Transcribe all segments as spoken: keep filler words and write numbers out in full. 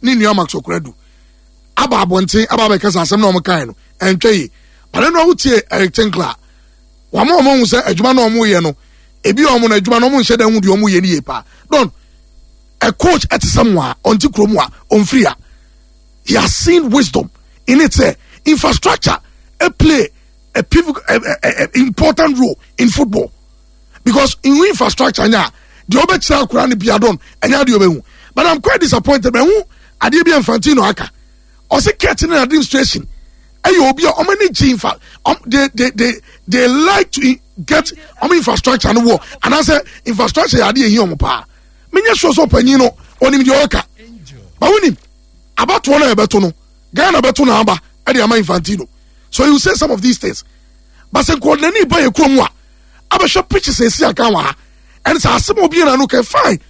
ne nua Max Okuradu aba abɔnten aba abɛkasa asɛm na ɔmo kan no ɛntwɛ yie. But no, wotie Eric Tinkler, wɔn a wɔn ho sɛ adwuma na wɔn yɛ no, ebi a wɔn no adwuma na wɔn nhyɛ dan ho deɛ wɔn yɛ no yie paa. Don, a coach ɛte sɛ mo a ɔnte kurom a ɔnfiri a, he has seen wisdom in it sɛ infrastructure a play a pivotal a, a, a, important role in football, because in infrastructure nya deɛ ɔbɛkyerɛ akora no bia, Don, ɛnyɛ adeɛ ɔbɛhu. But I'm quite disappointed. Bɛhu adeɛ bi a Infantino aka, ɔsɛ Kurt ne administration ɛyɛ obi a ɔmo ani gye nfa ɔm they they they they like to get ɔmo infrastructure no wɔ, anaasɛ infrastructure yɛ adeɛ ehi ɔmo paa. Menyɛ sure sɛ ɔpanyin no ɔnim deɛ ɔka ba. Wonim abatoɔ no a yɛbɛto no, Ghana bɛto no aba ɛde ama Infantino, so you say some of these things. But sɛ nkɔɔdinani ba yɛ kurom a abɛhwɛ pitches esi aka wɔ ha, ɛne sɛ asɛm a obi yɛn ano kɛ fine,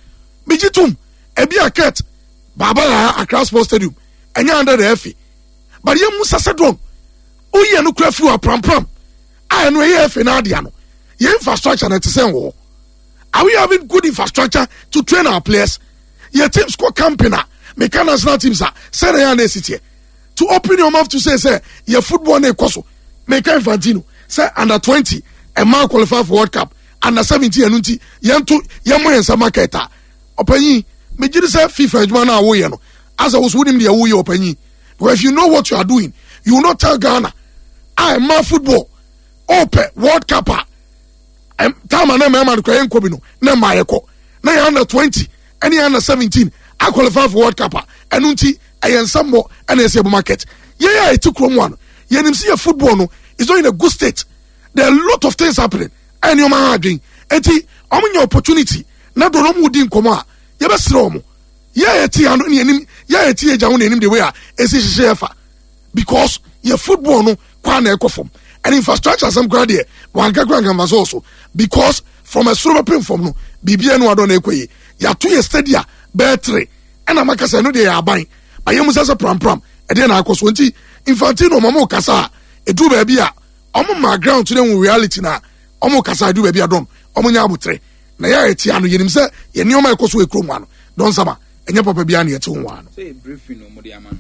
megye tom. Ebi a Kurt baaba yɛ Accra Sports Stadium ɛnyɛ under the F A, but yɛn mu sase dɔn oyɛ no kura firi wɔ prampram a ɛno ɛyɛ F A n'adeɛ no. Yɛn infrastructure na ɛte sɛ wɔ, are we having good infrastructure to train our players? Yɛ teams kɔ camping a, meka national teams a, sɛnɛ yɛ ana esi teɛ to open your mouth to say sɛ yɛ football na ɛkɔ so? Meka Infantino sɛ under twenty ɛmaa qualify for World Cup, under seventeen, ɛno nti yɛn to yɛn mo yɛn nsa market a ɔpanyin. Megye di sɛ FIFA adwuma no a woyɛ no, asɛ woso wonim deɛ woyɛ, ɔpanyin, because if you know what you are doing, you will not tell Ghana a ɛma football ɔpɛ World Cup a time a na mmarima no kora yɛnkɔ bi no na mmaa yɛkɔ na yɛn under twenty ɛne yɛn under seventeen a qualify for World Cup a, ɛno nti ɛyɛ nsɛmmɔ ɛna ɛsɛ ɛbɔ market. Yɛn a yɛte kurom a no, yɛnim sɛ yɛ football no is not in a good state. There are a lot of things happening ɛne nneɛma ha adwen, eti wɔn nya opportunity na dɔn wɔn di nkɔmɔ a, yɛbɛsrɛ wɔn. Yɛ a yɛte ha no ne yɛnim, yɛ a yɛte yɛ gya ho ne yɛnim the way a esi hyehyɛ yɛ fa, because yɛ football no kwan na ɛkɔ fam, and infrastructure asɛm koraa deɛ, wanka kora nka nfa so so, because from ɛsoro bɛpem fam no, biribiara no adɔ na ɛkɔ yie. Yɛato yɛ stadia bɛɛ tere, ɛna maka sɛ ɛno deɛ yɛ aban ayɛ mu sɛ sɛ prampram ɛdeɛ na akɔ so. Nti Infantino, ɔmo mo kasa a, ɛduru baabi a ɔmo ma ground to ne ho reality na ɔmo kasa. Ɛduru baabi a, dɔn, ɔmo nya abotere na yɛ a yɛte ano, yɛnim sɛ yɛ nneɛma ɛkɔ so wɔ kurom ano. Dɔn sama ɛnyɛ papa biara na yɛte ho ano. Sɛ briefing no mo de ama no.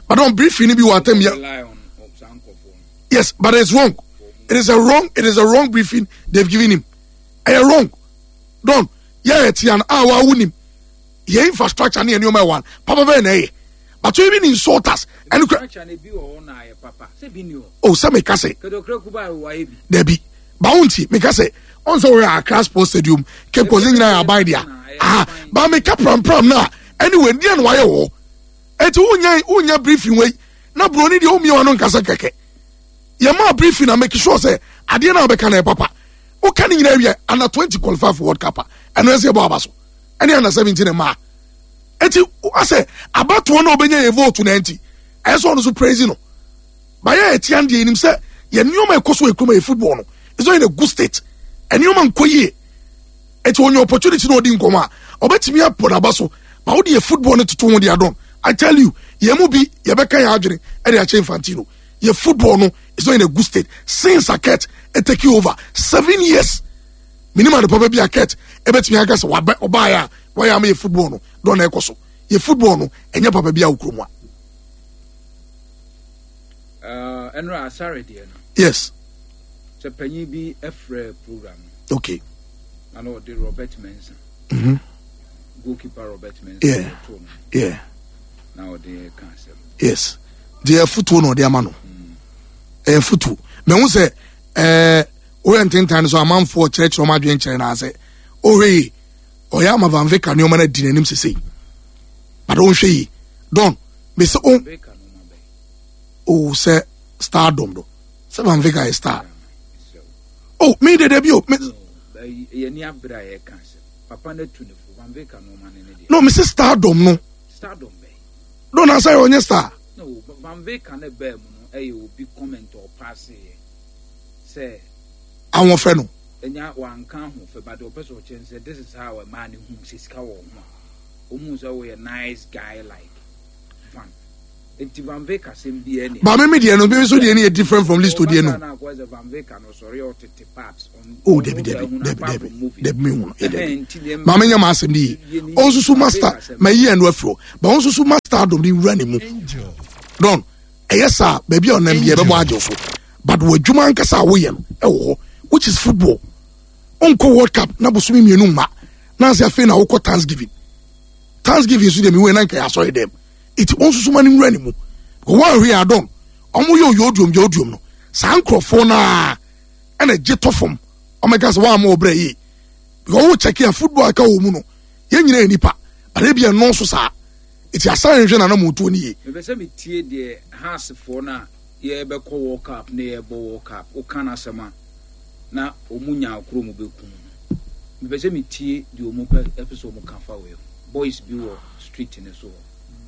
But on briefing ni bi wɔ atam yɛ. Rely on saa nkɔfoɔ no. Yes, but it's wrong. It is a wrong it is a wrong briefing they've given him. Ɛyɛ wrong, Don. Yɛ yɛ tia no a wawu nim yɛ infrastructure ne yɛ nneɛma ɛwɔ ano papa bɛyɛ na ɛyɛ, but to even insult us ɛne kura. Infrastructure no bi wɔ hɔ na ayɛ papa sɛ bi ni hɔ. O sɛ meka sɛ Kedokere kuba a wayɛ bi. Dabi, bawo nti meka sɛ ɔn sɛ wɔyɛ Accra Sports Stadium, Cape Coast ne nyinaa yɛ aban dea. Aha ba meka prampram na anyway deɛ na wayɛ wɔ hɔ, eti wonya wonya briefing wei na buroni deɛ womia wa no nkasa kɛkɛ. Yɛma briefing na make sure sɛ adeɛ na wobɛka na yɛ papa. Woka ne nyinaa wie, under twenty qualify for World Cup a, ɛno ɛsɛ yɛbɔ aba so, ɛne under seventeen mmaa. Eti asɛ abatoɔ na ɔbɛnya yɛ vote na nti ɛyɛ sɛ ɔno so praise no bayɛ. Ɛtia no deɛ, yɛnim sɛ yɛ nneɛma ɛkɔ so wɔ kurom a yɛ football no is not in a good state, nneɛma nkɔ yie. Eti onye opportunity na ɔdi nkɔmɔ a, ɔbɛtumi apɔ n'aba so ba. Wode yɛ football no toto ho deɛ, adɔn, I tell you, yɛn mu bi yɛbɛka yɛn adwene ɛde akyɛ Infantino. Yɛ football no is not in a good state since Kurt take over seven years. Minimum ade papa bi a Kurt ɛbɛtumi aka sɛ wabɛ ɔbaayɛ a wɔyɛ ama yɛ football no dɔn na ɛkɔ so. Yɛ football no ɛnyɛ papa bi a wɔ kurom a. Ɛnura Asare deɛ no. Yes. Sɛ panyin bi ɛfrɛ program no. Okay. Na na ɔde Robert Mensah. Mm -hmm. Goalkeeper Robert Mensah. Yeah. Yeah. Na ɔde ka asɛm. Yes, deɛ ɛfotuo na ɔde ama no, ɛyɛ fotuo. Mɛ n sɛ ɛɛ woyɛ ntentan so, amanfoɔ kyerɛkyerɛ ɔmo adwene kyerɛ na asɛ ɔhwɛ yi, ɔyɛ ama Van Vicker nneɛma no adi n'anim sese, but ɔnhwɛ yi, Don, mɛ sɛ ɔn o sɛ stardom do sɛ Van Vicker yɛ star o mi de de bi o. Yɛni abere a yɛka asɛm papa no atu ne fo Van Vicker no ɔma ne ne deɛ. No, mi sɛ stardom no. Stardom bɛn? Don, na sɛ ɔnyɛ star. No, Van Vicker ne bɛɛ mu no, ɛyɛ obi comment ɔpaase yɛ sɛ. Ahoɔfɛ no. Ɛnya wanka ahoɔfɛ, but ɔpɛ sɛ ɔkyɛn sɛ this is how ɛmaa ne hu sɛ sika wɔ ho a ɔmu sɛ wɔyɛ nice guy like Van. Nti Van Vick asɛm biara ni. Ba me me deɛ no, me nso deɛ no yɛ different from Listo deɛ no. Na akɔ sɛ Van Vick no sɔre a ɔtete pubs. Oh, dabi dabi dabi dabi dabi, me hu no yɛ dabi. Maame nyɛ maa asɛm de yie. Ɔnsusu master ma yi ɛno afiri hɔ, ba ɔnsusu master adom de wura ne mu. Don ɛyɛ saa, baabi a ɔnam bi ɛbɛbɔ agye so, but wɔ adwuma ankasa a woyɛ no ɛwɔ hɔ, which is football. Ɔnkɔ World Cup na bosomi mmienu mma na ase, afei na wokɔ Thanksgiving. Thanksgiving so deɛ, mi wei na nka yɛ asɔre dɛm. Eti ɔnsusu ma ne nwura ne mu. Wɔn ahwɛ adɔn ɔmo yɛ oyɛ odiom yɛ odiom no, saa nkurɔfoɔ naa ɛna gye tɔ fam. Ɔmo ɛka sɛ wɔn ama ɔbrɛ yie because ɔwɔ kyɛkɛ a football aka wɔ mu no, yɛn nyinaa yɛ nipa, but ebi ɛno nso saa eti asan nhwɛ na anam otuo ne yie. Mepɛ sɛ metie deɛ Heartsfoɔ no a yɛbɛkɔ World Cup ne yɛbɔ World Cup, woka no asɛm a na ɔmu nya akoro mu bɛku no. Mepɛ sɛ metie deɛ ɔmu pɛ ɛpɛ sɛ ɔmu ka fa wei ho. Boys bi wɔ street ne so hɔ,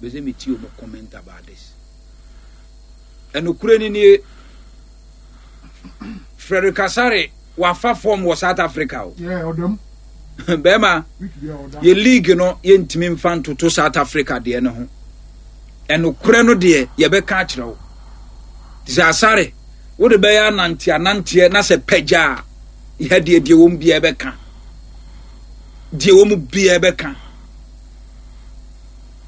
mepɛ sɛ metie ɔmu comment about this. Ɛnokorɛ ni nie, Frederick Asare wafa form wɔ South Africa o. Bɛrima yɛ league no, yɛntumi mfa ntoto South Africa deɛ no ho. Ɛnokorɛ no deɛ, yɛbɛka akyerɛ wo te sɛ Asare wode bɛyɛ anante ananteɛ na sɛ pɛgya a, yɛ deɛ deɛ wɔm biara bɛka, deɛ wɔm biara bɛka,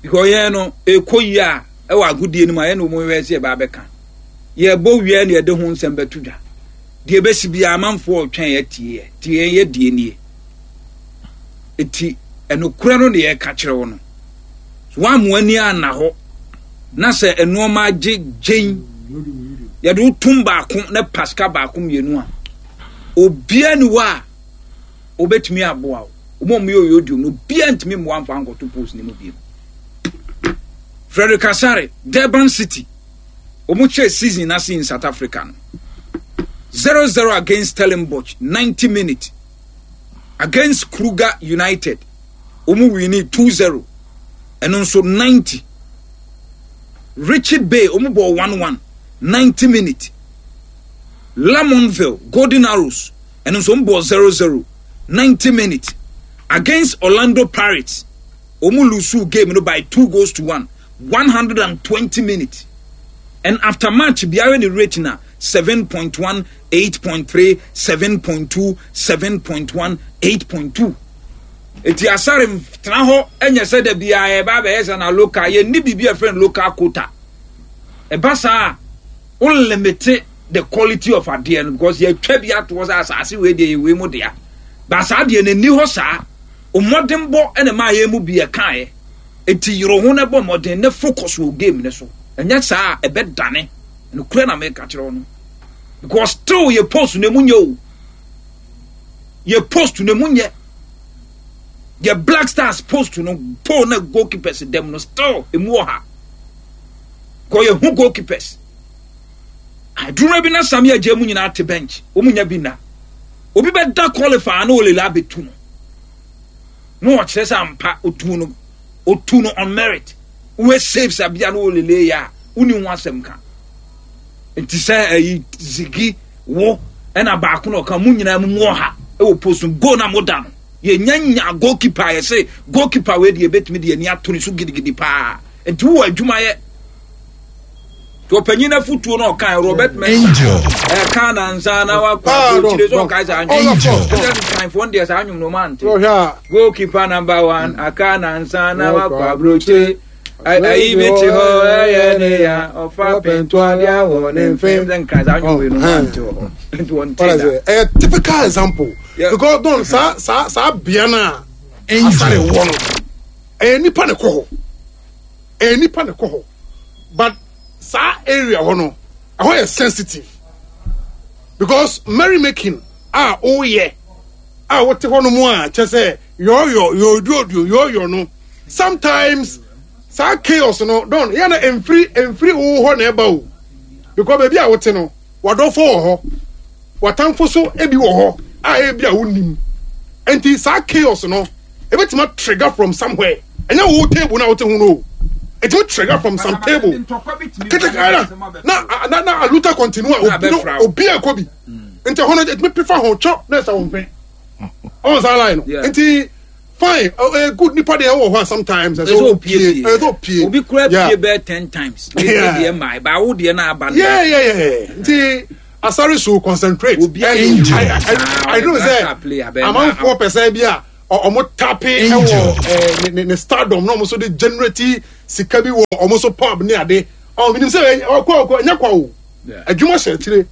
because yɛn no ɛkɔ yie a ɛwɔ agodie no mu a, yɛn na wɔn hwɛ sɛ yɛba abɛka. Yɛbɔ wie na yɛde ho nsɛm bɛto dwa. Deɛ ɛbɛsi biara, amanfoɔ ɔtwɛn yɛ tie yɛ tie yɛn yɛ deɛ nie. Eti ɛnokorɛ no na yɛka kyerɛ wo no so, wɔn ani anna hɔ na sɛ nneɛma agye gyɛn, yɛde wo tum baako na pasika baako mmienu a, obiara ni hɔ a obetumi aboa wo. Wɔn a wɔyɛ oyɛ odiom no, obiara ntumi mmoa mfa nkɔto post ne mu bio. Frederick Asare, Durban City, wɔn kyerɛ season n'ase in South Africa no, zero zero against Stellenbosch, ninety minutes. Against Kruger United, wɔn win two zero, ɛno nso ninety. Richard Bay, wɔn bɔ one one, ninety minutes. Lamontville Golden Arrows, ɛno nso wɔn bɔ zero zero, ninety minutes. Against Orlando Pirates, wɔn lose game no by two goals to one, one hundred and twenty minutes. And after match biara ne rate na seven point one, eight point three, seven point two, seven point one, eight point two. Eti Asare tena hɔ, ɛnyɛ sɛ da biara ɛba abɛyɛ sɛ na local yɛnni biribi a ɛfrɛ no local quota. Ɛba saa, o limit the quality of adeɛ no, because yɛtwa bi atoɔ sɛ asase wei deɛ yɛ wei mu dea ba. Saa deɛ n'ani hɔ saa mmɔdenbɔ ɛna maa yɛn mu bi ɛkaeɛ. Eti yoro ho na bɔ mmɔden ne focus wɔ game ne so. Ɛnyɛ saa a, ɛbɛdane nokura na meka kyerɛ wo no, because still yɛ post na emu nyɛ o, yɛ post na emu nyɛ. Yɛ Black Stars post no, pole na goalkeepers dɛm no, still emu wɔ ha kɔ yɛ hu goalkeepers adwuma bi na Sami agye mu nyinaa te bench, wɔn nya bi na obi bɛ da qualify na olele abɛtu no na ɔkyerɛ sɛ ampa otu no, otu no on merit. Wo save sabia na olele yɛ a, woni ho asɛm ka. Nti sɛ ɛyi zigi wo ɛna baako na ɔka mu nyinaa mu wɔ ha ɛwɔ post no, goal na mo da no, yɛnya nya goalkeeper a yɛsɛ goalkeeper wei deɛ yɛbɛtumi de ani ato ne so gidigidi paa. Nti wowɔ adwuma yɛ nti ɔpanyin afutuo na ɔkan Robert Angel. Ɛka nansa na wakɔ Ah, aburokyire sɛ no, ɔkae saa Oh, of course. nnwom ɛsɛ nkanfoɔ deɛ, saa nnwom no ɔma nte. Ɔhwɛ a Goalkeeper number one aka nansa na wakɔ aburokyire, ayi bi te hɔ ɛyɛ ne ya ɔfa pɛntoa de awɔ ne mfɛn sɛ nkan saa nnwom wei no ɔma nte wɔ hɔ nti wɔnte What I da. say, ɛyɛ typical example. Yeah. Because don saa saa saa bea no a Asare Angel. wɔ no, ɛyɛ nipa ne kɔ hɔ, ɛyɛ nipa ne kɔ hɔ, but saa area hɔ no, ɛhɔ yɛ sensitive because merry making a ɔreyɛ a wote hɔ no mu a, kyɛ sɛ yɔɔyɔ yɔɔduoduo yɔɔyɔ no, sometimes saa chaos no don yɛn na mfiri mfiri wo hɔ na ɛba o, because baabi a wote no, wadɔfo wɔ hɔ, watamfo so ebi wɔ hɔ a ebi a wonim. Nti saa chaos no ebetuma trigger from somewhere. Ɛnyɛ wo table na wote ho no o, etumi trigger from some table ketekara na na na aluta continue a obi no obi a ɛkɔ bi. Nti ɛhɔ no etumi pefa ho twɛ na ɛsɛ wɔn pɛ ɔn saa line no. Yeah. Nti Fine, uh, uh, good nipa deɛ ɛwɔ hɔ a sometimes ɛsɛ opie. Ɛsɛ opie. Obi kura Yeah. pie bɛɛ ten times ne Yeah. deɛ mmaa ba awo deɛ na aba no. yeah yeah yeah nti Asare should concentrate. Obi And ayɛ I I I know Ah, sɛ black player bɛɛ amanfoɔ pɛ sɛ bi a ɔ- ɔmo tap ɛwɔ ɛɛ ne ne ne stardom na ɔmo so de generate sika bi wɔ ɔmo so pub ne ade. Ɔ minim sɛ ɔkɔ ɔkɔ ɛnyɛ kwa o. Yeah. Adwuma hyɛ akyire,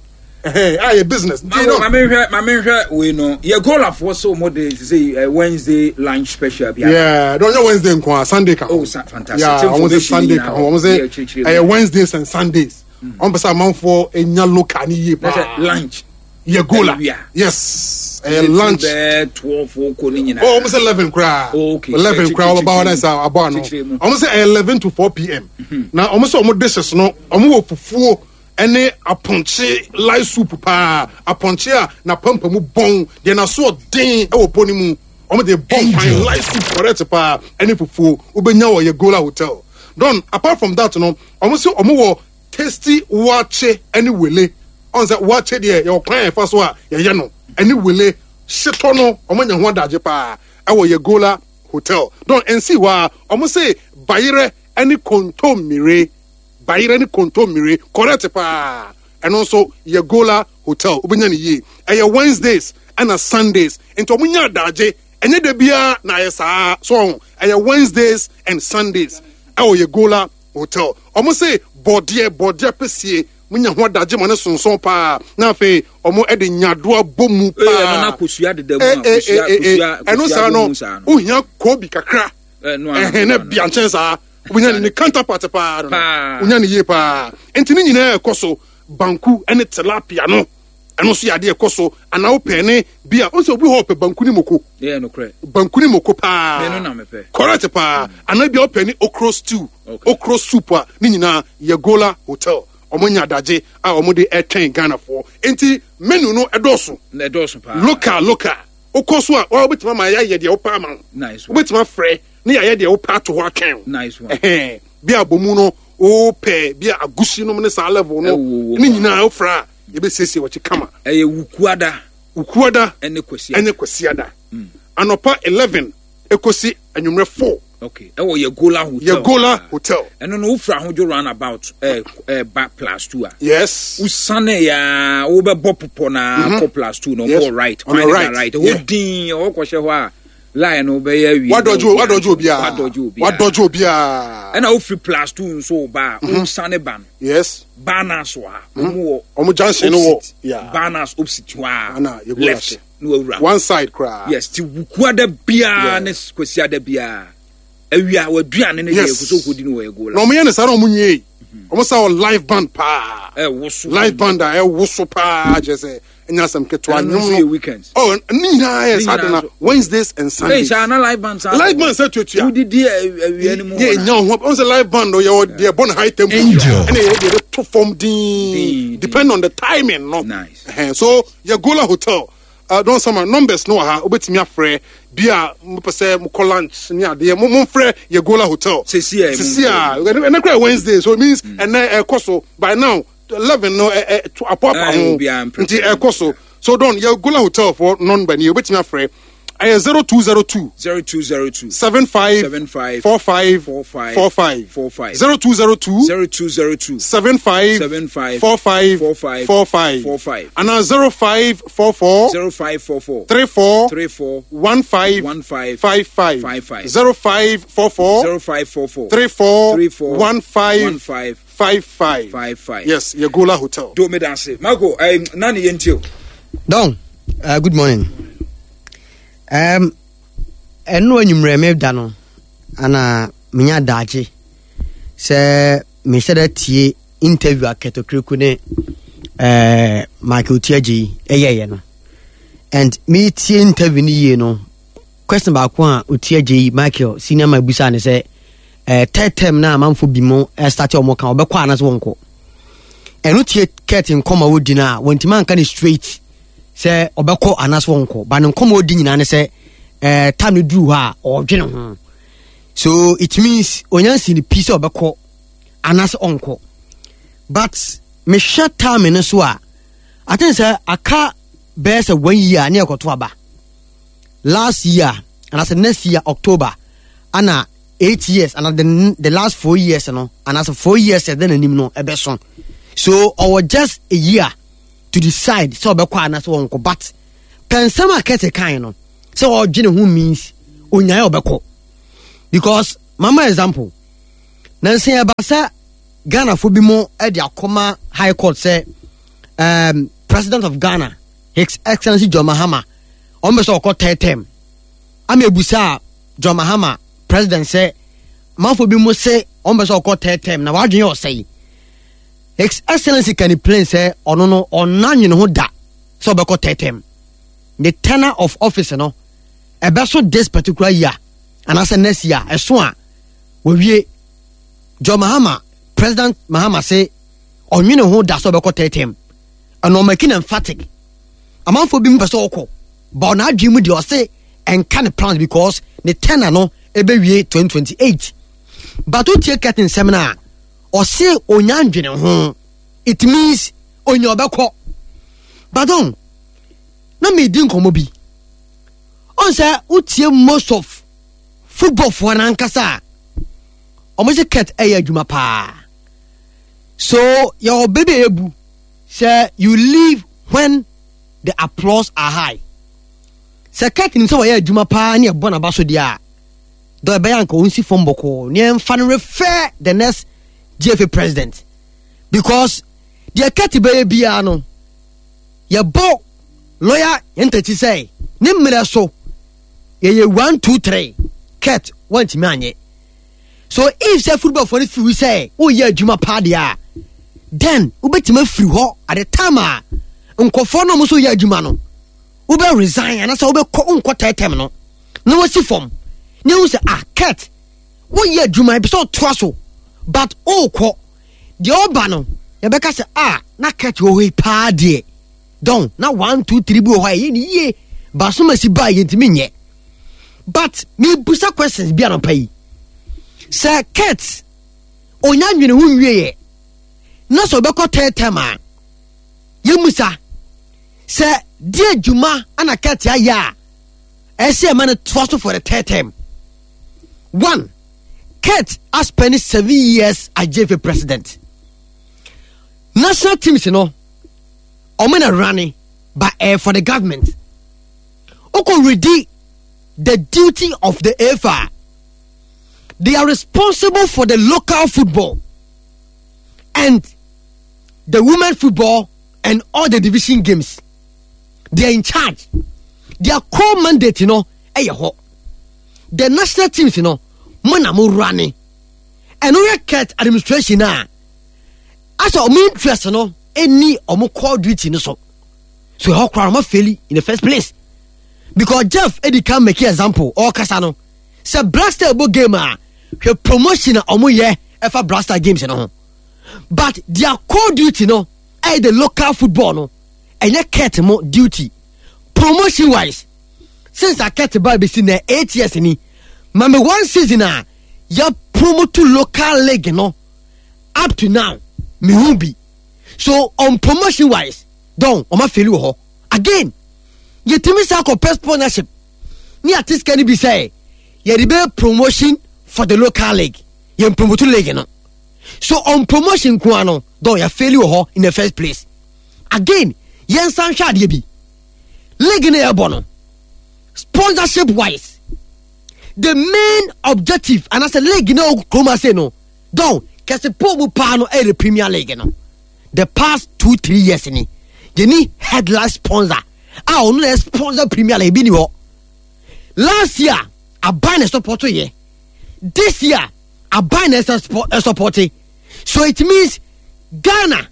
ɛhɛn, a yɛ business nti no. Maame nhwɛ, maame nhwɛ wei no yɛ golafoɔ sɛ ɔmo de sɛ eh, Wednesday lunch special bi aba. Yeah, don't yɛ Wednesday nko a, Sunday ka ho. Oh, sa- fantastic. Yeah, Same ɔmo sɛ information Sunday nyinaa ka ho. Ɔmo sɛ yɛ akyirikyiri ɛyɛ mu. Wednesdays and Sundays. Ɔmo pɛ sɛ amanfoɔ enya local ni yie Na sɛ paa. Lunch. Yɛ gola. Awia. Yes, ɛyɛ lunch. Bɛɛ twelve kɔ ne nyinaa. Oh, ɔmo sɛ eleven koraa. Oh, okay. Eleven koraa ɔbɛba hɔ na sɛ abɔ ano. Kyikyiri mu. Ɔmo sɛ ɛyɛ eleven to four p m. Na ɔmo sɛ ɔmo dishes no, ɔmo wɔ fufuo ɛne apɔnkye light soup paa, apɔnkye a n'apampa mu bɔn deɛ n'aso ɔden ɛwɔ pɔ ne mu. Ɔmo de bɔn kwan light soup correct paa ɛne fufuo wobɛnya wɔ yɛ Gola Hotel. Don apart from that no, ɔmo sɛ ɔmo wɔ tasty waakye ɛne wele. Ɔn sɛ waakye deɛ, yɛwɔ kwan a yɛfa so a yɛyɛ no ɛne wele hyetɔ no, ɔmo nya ho adagye paa ɛwɔ yɛ Gola Hotel. Don nsi hɔ a, ɔmo sɛ bayerɛ ɛne kontommire, bayerɛ ne kontommire correct paa, ɛno nso yɛ Gola Hotel wobɛnya ne yie. Ɛyɛ Wednesdays ɛna Sundays, nti ɔmo nya adagye. Ɛnyɛ da biara na ayɛ saa so ɔho. Ɛyɛ Wednesdays and Sundays ɛwɔ yɛ Gola Hotel. Ɔmo sɛ bɔdeɛ bɔdeɛ pɛsie, monya ho adagye ma ne sonson paa, na afei ɔmo ɛde nyadoa bɔ mu Ee, ɛno paa. Na kosua deda mu Eh, a eh, eh, kosua eh, eh, kosua ɛno kosua saa bɔ no mu saa no. Wohia kobi kakra. Ɛno ano, ɛhɛn na ano. bia nkyɛn saa wonya ne ne counterpart paa no. Paa. Wonya ne yie paa, nti ne nyinaa ɛkɔ so. Banku ne tilapia no, ɛno nso yɛ adeɛ ɛkɔ so. Anaa wopɛ ne bia ɔsɛ obi hɔ ɔpɛ banku ne moko. Yɛ nokorɛ. Banku ne moko paa. Menu na mepɛ. Correct paa. Anaa bia wopɛ ne okro stew, Okay. okro soup a ne nyinaa yɛ Gola Hotel. Ɔmo nya adagye a ɔmo de ɛtwɛn Ghanafoɔ, nti menu no ɛdɔɔso. Na ɛdɔɔso paa. Local local wokɔ so a wa wobɛtumi ama yɛayɛ deɛ wopɛ ama wo. Nice one. Wobɛtumi afrɛ ne yɛayɛ deɛ wopɛ ato hɔ atwɛn wo. Nice one. Ɛhɛn, bi a bɔmu no wopɛ bi a agusi nom ne saa level no. Ɛwɔ wɔ ne nyinaa wofrɛ a yɛbɛsiesie wɔkyi kama. Ɛyɛ Wukuada Wukuada ɛne Kwasia. Ɛne Kwasiada anɔpa eleven ekosi anwummerɛ four. Okay, ɛwɔ yɛ Gola Hotel. Yɛ Gola Hotel. Ɛno no wofura Ahodwo roundabout ɛɛ ɛɛ ba Plus Two a, yes wosane ya wobɛbɔ popɔ na kɔ Plus Two no. Yes. Ɔbɔ right On the kwan ne da right. right Yeah. hɔ din ɔwɔ kɔhyɛ hɔ a line no bɛyɛ awie. Wadɔgye wadɔgye obiara. Wadɔgye obiara. Wadɔgye obiara. Ɛna wofiri Plus Two nso ba a, wosane ba no yes Banas wɔ ha, ɔmo wɔ Ɔmo junction no wɔ opposite. Yeah. Banas opposite hɔ a Ana, yɛ Gola left hyɛ. na wawura. One side koraa. Yes, ti Wukuada biara Yeah. ne Kwasiada biara awia waduane ne deɛ Yes. ɛkò sɛ wokɔdi no wɔ yɛ Gola. Na ɔmo yɛ ne saa na ɔmo nwie, ɔmo sa wɔ live band paa. Ɛwo so. Live band a ɛwo so paa kyerɛ sɛ ɛnyɛ asɛm ketewa. Ɛno Nnwom nso yɛ no weekends. Oh, ne nyinaa yɛ Ne saa de nyinaa na nso. Wednesdays and Hey, Sundays. saa na live band saa. Live band sɛ tuatua. Wodidi awia no mu yɛ hɔ na. nya ho ɔn sɛ live band no yɛwɔ deɛ ɛbɔ no high tempo Angel. ɛna yɛwɔ deɛ yɛde fam Din, din, depend on the timing no. Nice. Ɛhɛn, so yɛ Gola Hotel, uh, don sama numbers no wɔ ha, wobɛtumi afrɛ bi a mopɛ sɛ mokɔ lunch ne adeɛ, mo momfrɛ yɛ Gola Hotel. Sesi a, sisi a ɛnɛ kora yɛ Wednesday, so it means ɛnɛ ɛkɔ so. By now eleven no ɛ ɛ to apɔ apa Ah, ho. obiara mpɛ. Nti ɛkɔ so. So don yɛ Gola Hotel for number ni wobɛtumi afrɛ, ɛyɛ zero two zero two zero two zero two seven five seven five four five four five four five four five zero two zero two zero two zero two seven five seven five four five four five four five four five ana zero five four four zero five four four three four three four one five one five five five five five zero five four four zero five four four three four three four one five one five five five. five five. Yes, Yegola Hotel. Do me dance Marco, um, nani yɛntie o. Don, uh, good morning. Um, ɛno anwummerɛ meda no ana menya daakye sɛ mehyɛ da tie interview a Kurt Okraku ne uh, Michael Oti Agyei ɛyɛyɛ no, and metie interview no yie no, question baako a Oti Agyei Michael senior man busa ne sɛ uh, third term na amanfo bi mo start ɔmo ka ɔbɛkɔ anaasɛ wɔnkɔ. Ɛno tie Kurt nkɔm a wɔdi no a, wɔntumi anka ne straight sɛ ɔbɛkɔ anaasɛ wɔnkɔ, ba ne nkɔm a ɔdi nyinaa ne sɛ ɛɛ time no duru hɔ a ɔredwene ho. So it means onyansi ne pii sɛ ɔbɛkɔ anaasɛ ɔnkɔ, but mehwɛ time no so a, I think sɛ aka bɛyɛ sɛ one year ne yɛkɔto aba. Last year anaasɛ next year October ana eight years ana the, the last four years no, anaasɛ four years ɛdɛ n'anim no ɛbɛso. So ɔwɔ just a year to decide sɛ ɔbɛkɔ anaasɛ wɔnkɔ. But pɛnsɛm a Kurt kan no sɛ ɔdwene ho means onyae ɔbɛkɔ, because mama example, nansi ɛba sɛ Ghanafo bi mo de akɔma High Court sɛ um, President of Ghana, His Excellency John Mahama, ɔmo bɛ sɛ ɔkɔ third term. Ama ebusa John Mahama, president, sɛ manfo bi mo se ɔmo bɛ sɛ ɔkɔ third term na wadwene yɛ ɔsɛe. His Excellency kan plain sɛ ɔno no ɔna nwene ho da sɛ ɔbɛkɔ third term. The tenure of office no ɛbɛso this particular year anaasɛ next year ɛso a wɔwie. John Mahama, President Mahama, se ɔnwene ho da sɛ ɔbɛkɔ third term, ɛna ɔmaki no emphatic. Amanfoɔ bi mu pɛ sɛ ɔkɔ ba, ɔna adwene mu deɛ ɔse ɛnka ne plans because ne tenure no ɛbɛwie twenty twenty-eight. But wotie Kurt nsɛm no a, ɔse onya ndwene ho. It means onya ɔbɛkɔ. But on na medi nkɔmmɔ bi ɔn sɛ wotie most of footballfoɔ no ankasa a, ɔmo sɛ Kurt ɛyɛ adwuma paa. So yɛwɔ baabi a yɛbu sɛ you leave when the applause are high. Sɛ Kurt nim sɛ wɔyɛ adwuma paa ne ɛbɔ n'aba so deɛ a, dɔ ɛbɛyɛ anka ɔnsi fam bɔkɔɔ ne ɛmfa no refer the next G F A president, because deɛ Kurt bɛyɛ biara no, yɛbɔ lawyer Nyantakyi sɛ ne mmerɛ so yɛyɛ one, two, three, Kurt wantumi anyɛ. So if sɛ football fo no firi sɛ woyɛ adwuma paa deɛ a, then wobɛtumi afiri hɔ at the time a nkɔfoɔ no a ɔmo nso yɛ adwuma no, wobɛ resign anaasɛ wobɛkɔ wonkɔ tɛɛtɛm no na wasi fam na ehu sɛ, ah, Kurt woyɛ adwuma ebi sɛ ɔtoa so, but ɔrekɔ deɛ ɔba no, yɛbɛka sɛ, ah, na Kurt wɔ hɔ yi paa deɛ, dɔn na one, two, three bi wɔ hɔ a ɛyɛ ne yie baasomasi baa yɛntumi nyɛ. But mebusa questions bi anɔpa yi sɛ Kurt onya nwene ho nwieɛ na sɛ ɔbɛkɔ third term a, yɛmusa sɛ deɛ adwuma ana Kurt ayɛ a ɛsɛ ɛma no toa so for the third term? One, Kurt has spent seven years as G F A president. National teams no, ɔmo na running, but uh, for the government oko ready the duty of the F A, they are responsible for the local football and the women football and all the division games. They are in charge. Their core mandate you know ɛyɛ hɔ. The national teams you know mo na mo running, ɛno yɛ Kurt administration a asɛ ɔmo interest no ɛni ɔmo core duty no so. So ɛhɔ koraa ɔmo fail in the first place, because Jeff edi kan make example, ɔkasa no sɛ Black Star bɔ game a, hwɛ promotion a ɔmo yɛ ɛfa Black Star games no ho, but their core duty no ɛyɛ the local football no. Ɛnyɛ Kurt mo duty promotion wise. Since a Kurt ba besi na eight years ni, maame one season a yɛ promote local league no up to now, mehu bi. So on promotion wise, don ɔma fail wɔ hɔ. Again, yɛtumi sa akɔpɛ sponsorship ne ate sika no bi sɛ yɛde bɛyɛ promotion for the local league, yɛn promote league no. So on promotion nkoa no, don yɛ fail wɔ hɔ in the first place. Again, yɛn nsa nhwɛ adeɛ bi, league no yɛbɔ no, sponsorship wise, the main objective anaasɛ league no kurom ase no, don kɛse pole mu paa no ɛyɛ the Premier League no. The past two three years ni, yɛni headline sponsor a ɔno na yɛ sponsor Premier League bi ni hɔ. Last year aban na support yɛ, this year aban na ɛsɛ support. So it means Ghana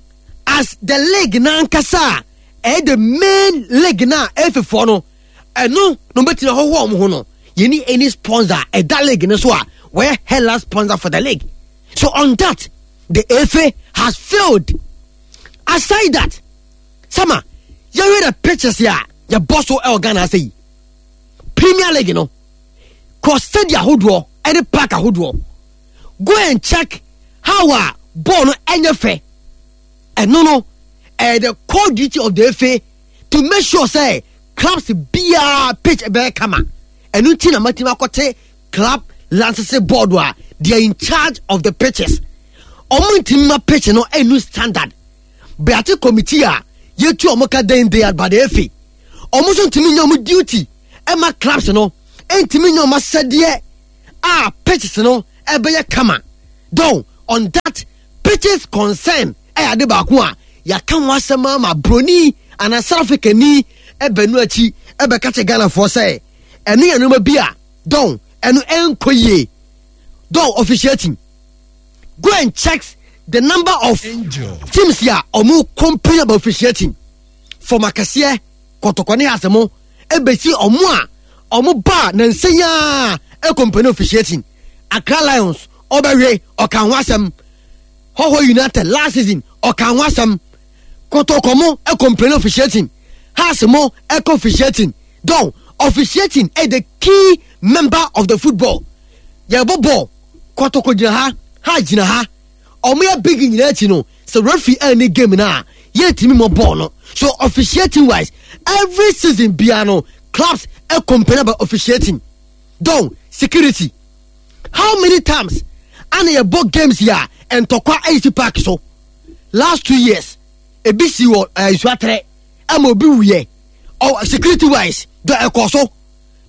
as the league nankasa a ɛyɛ the main league na ɛfɛfoɔ no, ɛno na ɔbɛtumi ahohoɔ ɔmo ho no, yɛni any sponsor ɛda league no so a wɔyɛ headline sponsor for the league. So on that, the F A has failed. Aside that, sama yɛhwɛ the pictures a yɛbɔ so ɛwɔ Ghana ase yi, Premier League no kɔ stadium ahodoɔ ɛne park ahodoɔ, go and check how a ball no ɛnyɛ fɛ. Ɛno no ɛyɛ the core duty of the F A to make sure say clubs biara pitch ɛbɛyɛ kama. Ɛno nti na matumi akɔte club licensing board a they are in charge of the pitches. Ɔmo ntumi ma pitch no ɛnu standard. Beate committee a yɛtu ɔmo ka den de abade efi, ɔmo nso ntumi nyɛ ɔmo duty ɛma clubs no, ntumi nyɛ ɔmo asɛdeɛ a pitches no ɛbɛyɛ kama. Don on that pitches concern, ɛyɛ ade baako a yɛaka ho asɛm ama broni anaa South Africa ni ɛbɛnu akyi ɛbɛka kyɛ Ghanafoɔ sɛ ɛno yɛ nneɛma bi a don ɛno ɛnkɔ yie. Don officiating, go and check the number of teams a ɔmo complain about officiating, from akɛseɛ Kɔtɔkɔ ne asɛmo ɛbɛsi ɔmo a ɔmo ba na nsɛnyaa ɛcomplain officiating. Accra Lions ɔbɛhwɛ, ɔka ho asɛm. Hohoe United last season, ɔka ho asɛm. Kɔtɔkɔ mo ɛcomplain officiating, Hearts mo ɛkɔ officiating. Don officiating ɛ the key member of the football. Yɛbɔ ball, Kɔtɔkɔ gyina ha, ha gyina ha, ɔmo yɛ big nyinaa akyi no, sɛ referee ɛni game na yɛntumi mɔ ball no. So officiating wise, every season bia no, clubs ɛ complain about officiating. Don security, how many times ana yɛbɔ games yi a ntɔkwa ɛyi si park so? Last two years ebi si wɔ ɛɛ Nsuatrɛ ɛma obi wuyɛ. Ɔ security wise dɔ ɛkɔ so.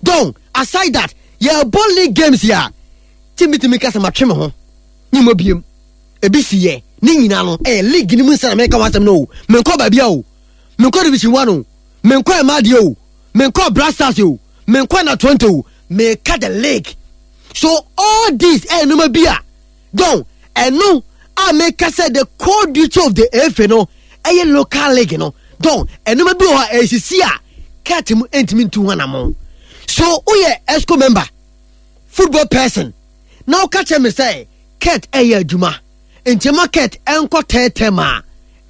Don aside that, yɛbɔ league games yi a tìmítìmí kasa ma twe me ho ne mo biem ebi si yɛ ne nyinaa no, ɛyɛ league ni mu nsa na mɛka wɔn asɛm no o. Menkɔ baabi a o, menkɔ Division One o, menkɔ ɛmaadeɛ o, menkɔ Black Stars o, menkɔ na twenty o, meka the league. So all these ɛyɛ nneɛma bi a don ɛno a meka sɛ the core duty of the F A no ɛyɛ local league no. Don ɛnneɛma bi wɔ hɔ a ɛsisi a kɛɛte mu ɛntumi ntu ho anamɔ. So woyɛ exco member, football person, na woka kyerɛ me sɛ Kurt ɛyɛ adwuma ntiɛma, Kurt ɛnkɔ tɛɛtɛɛ ma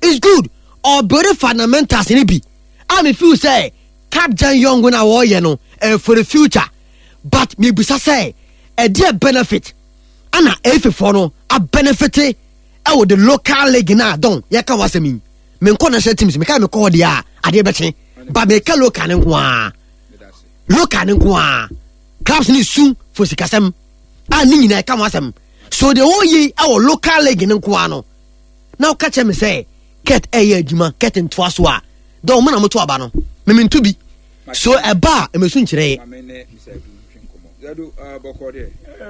it's good, ɔbuild fundamentals ne bi a me feel sɛ Cap Jan Young na wɔreyɛ no ɛyɛ for the future, but mebisa sɛ ɛdeɛ benefit ana efifoɔ no abenefit ɛwɔ the local league na dɔn yɛka wɔ asɛm yi? Menkɔ national teams, meka mekɔ hɔ deɛ a adeɛ bɛkye ba, meka local ne nko a, local ne nko a, clubs ne su for sikasɛm a ne nyinaa ɛka ho asɛm. So deɛ wɔyɛ ɛwɔ local league ne nko a no na woka kyerɛ me sɛ Kurt ɛyɛ adwuma, Kurt ntoa so a, dɔn mo na moto aba no, memento bi so ɛba a ɛmɛsu nkyerɛ yɛ.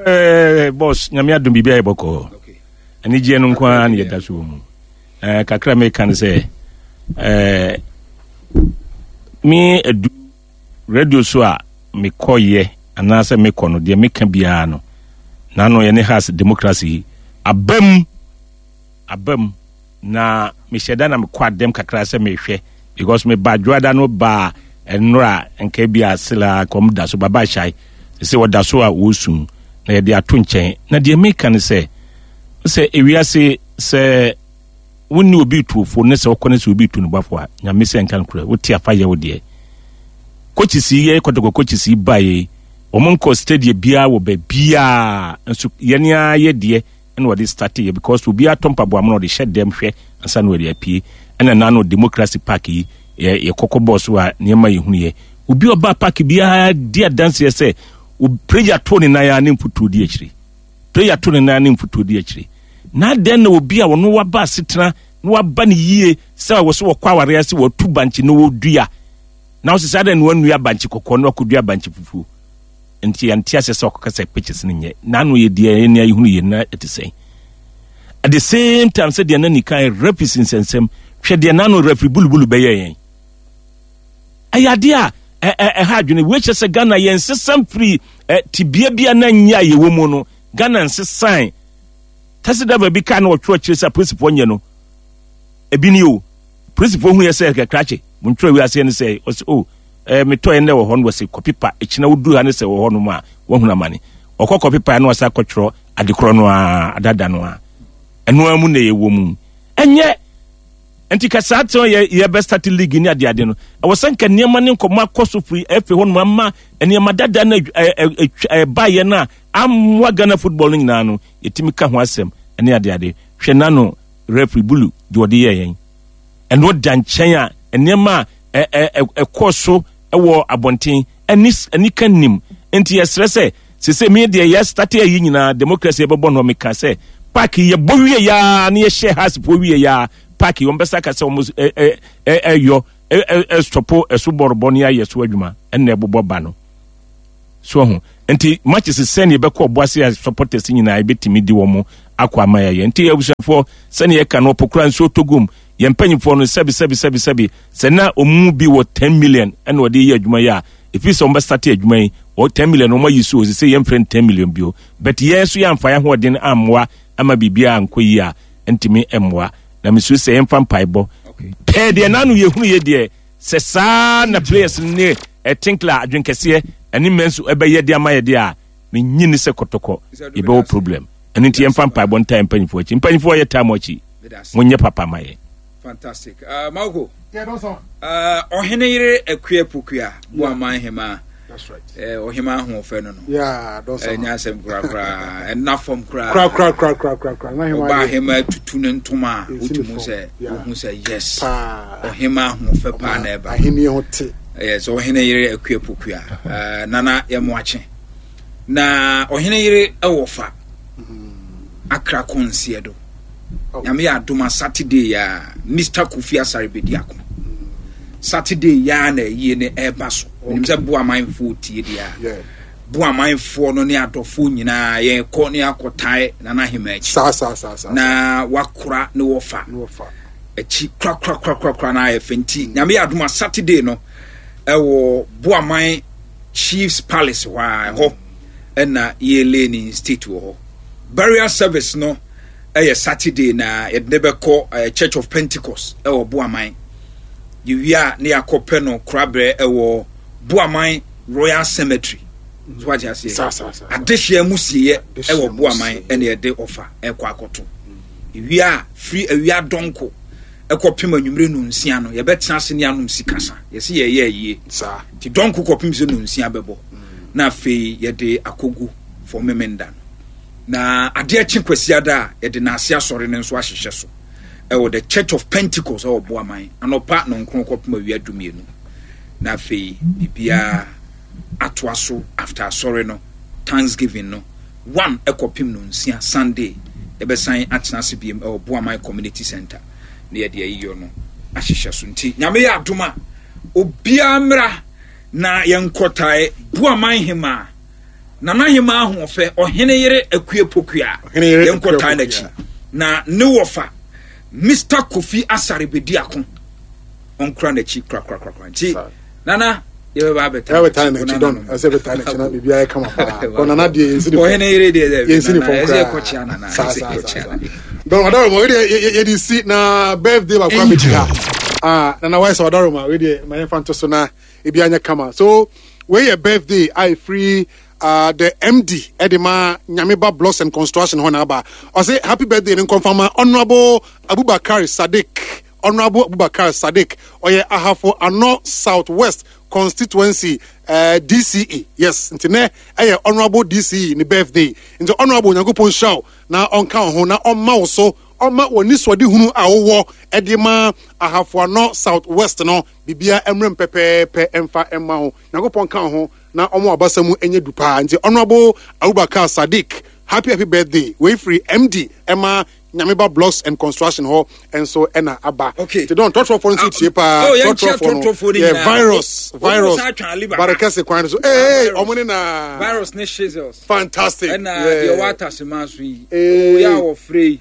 Eh, boss, Nyame adom, biribi ayɛ bɔkɔɔ. Anigyeɛ no nko ara ne yɛda so wɔ mu. Eh, kakra meka no sɛ eh, me adu radio so a mekɔyɛ anaasɛ mekɔ no, deɛ meka biara no naano yɛne has democracy yi abam abam na mehyɛ da na mekɔ adɛm kakra sɛ mehwɛ because meba dwoada no baa nnora nka bi a sela kɔm da so baba hyae sɛ wɔda so a wɔsum na yɛde ato nkyɛn. Na deɛ meka no sɛ sɛ ewiase sɛ wonni obi tuofo ne sɛ wokɔ ne sɛ obi tu no bafo a, Nyame sɛ nka nokorɛ wote afa yɛ wo deɛ. Coaches yi yɛ Kɔtɔkɔ coaches yi ba yi, wɔn nkɔ stadium biara wɔ baabiara nso, yɛne ara yɛ deɛ ɛna wɔde start yɛ because obi atɔ mpaboa mu na ɔde hyɛ dɛm hwɛ ansa na wɔde apue. Ɛna nano Democracy Park yi yɛ yɛ kɔkɔ bɔɔ so a nneɛma yɛ hunu yɛ obi a ɔba park biara di adanseɛ sɛ prayer to ne nan a ne mfutuo di akyire, prayer to ne nan ne mfutuo di akyire. Na adɛn na obi a ɔno waba asetena na waba ne yie sɛ wɔ so wɔkɔ awareɛ ase wɔtu bankye na wɔdua na wɔsɛ sɛ adɛn na wɔnnua bankye kɔkɔɔ na wɔkɔdua bankye fufuo? Nti yɛnte ase sɛ ɔkɔka sɛ pitches no nyɛ n'ano yɛ deɛ ɛne ayɛhunu yɛ na ɛte sɛn. At the same time, sɛ deɛ na nikan referees nsɛnsɛm, hwɛ deɛ n'ano referee bulubulu bɛyɛ yɛn, ɛyɛ adeɛ a ɛha adwene. Wei kyerɛ sɛ Ghana yɛn nsesa firi tibea bi a na nyɛ a yɛwɔ mu no. Ghana nsesan. Taxi driver bi kaa na ɔtwerɛ kyerɛ sɛ apolisifoɔ nyɛ no ebi ni o. Polisifoɔ hu yɛ sɛ krakye montwerɛ wi aseɛ no sɛ ɔsɛ o ɛɛ metɔ yɛn dɛ wɔ hɔ no, wɔsɛ kɔpepa ekyina woduru ha ne sɛ wɔ hɔ nom a wɔhunu amane. Ɔkɔ kɔpepa na ɔsa kɔtwerɛ adekorɔ no a adada no a ɛno ara mu na yɛwɔ mu ɛnyɛ. Nti ka saa tɛn yɛ yɛbɛ start league ne adeade no, ɛwɔ sɛ nka nneɛma ne nkɔmɔ akɔ so firi ɛfɛ hɔ nom ama nneɛma dada no ɛbaayɛ no a amoa Ghana football no nyinaa no, yɛtumi ka ho asɛm ne adeade. Hwɛ nano referee bulu deɛ ɔde yɛ yɛn, ɛno da nkyɛn a nneɛma a ɛkɔɔ so wɔ abɔnten ɛni ɛni ka nim. Nti yɛsrɛ sɛ sese mi deɛ yɛ start ayi nyinaa, democracy yɛbɛbɔ no, meka sɛ park yɛbɔ wie yaa ne yɛhyɛ hasefoɔ wie yaa, park wɔn bɛsa ka sɛ wɔn ɛ ɛ ɛ ɛyɔ ɛ ɛ ɛstop ɛso bɔrɔbɔ ne ayɛ so adwuma, ɛna ɛbobɔ ba no so ho. Nti matches sɛnea yɛbɛkɔ ɔboase a supporters nyinaa yɛbɛtumi di wɔn akɔ ama yɛyɛ. Nti abusuafoɔ, sɛnea yɛka no, ɔpokora nsuo togum yɛn mpanyinfoɔ no, sɛbi sɛbi sɛbi sɛbi, sɛ na ɔmu bi wɔ ten million ɛna ɔde yɛ adwuma yi a, efi sɛ wɔn bɛ start adwuma yi, wɔ ten million wɔn ayi so osisi yɛn fɛ ten million bio, but yɛn nso yɛn amfa yɛn ahoɔden ammoa ama biribiara ankɔ yi a, ntumi mmoa. Na mesuo sɛ yɛmfa mpaebɔ pɛɛ deɛ nanu yɛhunu yɛ deɛ sɛ saa na players ne ɛtinkla adwenkɛseɛ ɛne mmɛ nso ɛbɛyɛ de ama yɛ deɛ a, menyi ne sɛ Kɔtɔkɔ yɛbɛwɔ problem. Ɛno nti yɛmfa mpaebɔ ntaa mpanyinfoɔ akyi. Mpanyinfoɔ yɛ taa mo akyi, monyɛ papa ma yɛ. Fantastic. uh, Marco, uh, ɔhene yere Akua Pokua Boaman hema. That's right. eh, ɔhema ahoɔfɛ no no Yeah, don't ɛnyɛ asɛm korakora, ɛna fam Kra kra kra kra kra kra. Na hema ɔba yɛ- hema tutu ne ntoma a, Ɛsi wotu ne mu fam. sɛ Yeah. wohu sɛ yes, Paa. ɔhema ahoɔfɛ paa na ɛba. Ahenni ho te. Ɛyɛ sɛ ɔhene yere Akua Pokua, uh, nana yɛmoakye na ɔhene yere ɛwɔ fa Akra kɔnseɛ do. Oh. Nyame yɛ adom a, Saturday ya Mister Kofi Asare bɛdi ako. Saturday ya na ayie ne ɛreba so. Menim sɛ Boamanfoɔ tie deɛ a, Yeah. Boamanfoɔ no ne adɔfoɔ nyinaa, yɛkɔ ne akɔtae Nana Ahema akyi. Saa saa saa saa. Na wakora ne wɔfa Ne wɔfa. akyi korakorakorakora na ayɛ fɛ. Nti Nyame yɛ adom a, Saturday no ɛwɔ Boaman Chiefs Palace hɔ a, ɛhɔ ɛna yɛlay ne state wɔ hɔ. Burial service no ɛyɛ Saturday na yɛde ne bɛkɔ ɛɛ Church of Pentecost ɛwɔ Boaman. Yɛwie a, ne yɛakɔpɛ no korabrɛ ɛwɔ Boaman Royal Cemetery so, wagye aseɛ? Saa saa saa. Adehyia mu sieɛ Adehyia ɛwɔ mu Boaman sieɛ. ɛna yɛde ɔfa ɛkɔ akɔto. Ewia a, firi awia dɔnko ɛkɔpem anwummere no nsia no, yɛbɛtena ase ne anom sikasa yɛsi yɛyɛ ayie. Saa. Nti dɔnko kɔpem sɛ no nsia bɛbɔ, na afei yɛde akɔgu fɔ memenda no, na adeɛ kye Kwasiada a, yɛde n'ase asɔre no nso ahyehyɛ so ɛwɔ the Church of Pentecost ɛwɔ Boaman, anɔpa nɔnkron kɔpem awia dumienu, na afei biribiara atoa so. After asɔre no, thanksgiving no one ɛkɔpem no nsia, Sunday yɛbɛsan atena ase biem ɛwɔ Boaman Community Center na yɛde ayiyɔ no ahyehyɛ so. Nti Nyame yɛ adom a, obiara mmra na yɛnkɔtae Boaman hema, Nana Hema ahoɔfɛ, ɔhene yere Akue Pokua. Ɔhene yere Akua Yɛnkɔtae Pokua. N'akyi na ne wɔfa Mister Kofi Asare bɛdi ako, ɔnkora n'akyi korakorakorakora. Nti Saa. Nana, yɛbɛba abɛta Ɛbɛta n'akyi dɔn, ɛsɛ bɛta n'akyi na biribiara yɛ kama paa. Kɔ nana deɛ, yɛnsi ne fam. Ɔhene yere deɛ dɛ Yɛnsi ne fam ɛsɛ koraa. yɛkɔkyea Nana. Saa ɛsɛ saa yɛkɔkyea saa. Nana. Dɔn ɔdaroma, wei deɛ yɛ- yɛ- yɛde si na birthday baako abɛdi ha. Ah, nana wayɛ sɛ ɔdaroma, wei deɛ ma yɛmfa nto so na ebi anyɛ kama. So wei yɛ birthday a ɛfiri uh, the M D ɛde ma Nyameba Blocks and Construction hɔ na aba. Ɔse happy birthday ne nkɔmfama Honourable Abubakar Sadiq. Honourable Abubakar Sadiq, ɔyɛ Ahafo Ano South West Constituency uh, D C E. Yes, nti nɛ ɛyɛ Honourable D C E ne birthday. Nti Honourable, Onyankopɔn nhyira wo na ɔnka wo ho na ɔmma wo so, ɔma w'ani sɔde hunu a wowɔ ɛde ma Ahafo Ano South West no, biribia mmerɛ pɛpɛɛpɛ ɛmfa ɛmma ho. Nyankopɔn ka wo ho na ɔmo abasa mu ɛnyɛ du paa. Nti Honourable Abubakar Sadiq, happy happy birthday. Wei firi M D ɛma Nyameba Blocks and Construction hɔ nso ɛna aba. Okay. Nti dɔn trɔtrɔfoɔ no nso tie paa. Oh, yɛnkyia trɔtrɔfoɔ no trɔtrɔfoɔ no yɛ nyinaa. Virus. Ɔmo Virus sa atwa Ali Baba. Barekɛse kwan no so ee. Virus. Ɔmo ne na Virus ne Shizels. Fantastic. Ɛna Yeah. deɛ ɔwɔ atasema so yi, Eh. oyɛ a wɔfrɛ yi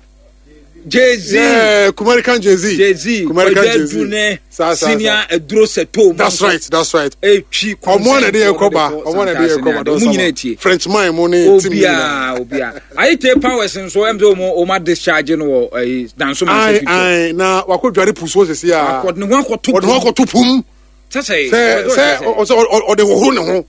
Jay-Z. Yeah, Kumerican Jay-Z. Jay-Z. Kumerican Kwadwo Jay-Z. Adu ne Saa, saa, senior saa. Aduro Sɛto. That's right, that's right. Etwi. Ɔmo na de yɛ kɔba, ɔmo na de yɛ kɔba. Ɔmo nyinaa tie. French man mo ne team Obiaa nyinaa. Obiaa ayete powers nso ɛm sɛ ɔmo ɔmo discharge no wɔ ɛyi Danso man Ayi sɛ ayi, na wakɔ dware pusuo sisi a. Akɔ ne ho akɔto. Ɔde ho akɔto pum. Sɛ sɛ Sɛ sɛ ɔsɛ ɔde hohoro ne ho.